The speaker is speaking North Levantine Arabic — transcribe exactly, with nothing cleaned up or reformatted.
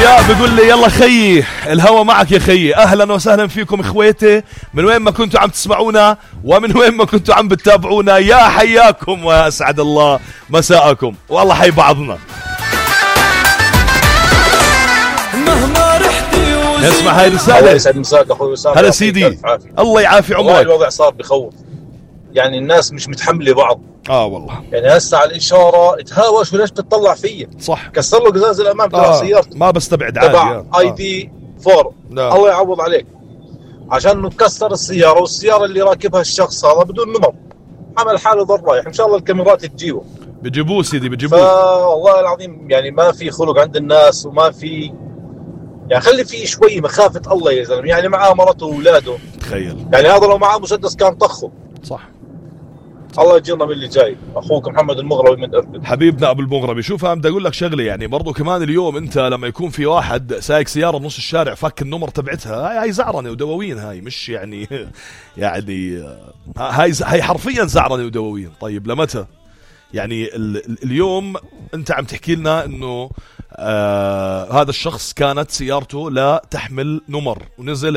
ضياء بيقول لي يلا خيي الهوا معك يا خيي. اهلا وسهلا فيكم اخواتي من وين ما كنتوا عم تسمعونا ومن وين ما كنتوا عم بتتابعونا، يا حياكم واسعد الله مساءكم والله حي بعضنا. مهما رحتي اسمع هاي رسالة. الله يسعد مساك اخوي وسام. هلا سيدي الله يعافي عمرك. الوضع صار بخوف، يعني الناس مش متحمله بعض. اه والله يعني هسه على الاشاره تهاوش وليش بتطلع فيا؟ صح كسر له قزاز الامام تبع آه. سيارته ما بستبعد عادي تبع آه. اي دي فور. آه. الله يعوض عليك، عشان انه كسر السياره والسياره اللي راكبها الشخص هذا بدون نمر، عمل حاله ضل رايح. ان شاء الله الكاميرات تجيبه، بجيبوه سيدي بجيبوه. فوالله العظيم يعني ما في خلق عند الناس وما في، يعني خلي في شوي مخافه الله يا زلمه. يعني معاه مرته واولاده، تخيل يعني هذا لو معاه مسدس كان طخه. صح. الله يجينا من اللي جاي. اخوك محمد المغربي من اربد. حبيبنا ابو المغربي. شوف انا بدي اقول لك شغله، يعني برضو كمان اليوم انت لما يكون في واحد سايق سياره بنص الشارع فك النمر تبعتها، هاي هاي زعرنه ودواوين، هاي مش يعني يعني هاي هاي حرفيا زعرنه ودواوين. طيب لمتى؟ يعني ال ال اليوم انت عم تحكي لنا انه آه هذا الشخص كانت سيارته لا تحمل نمر ونزل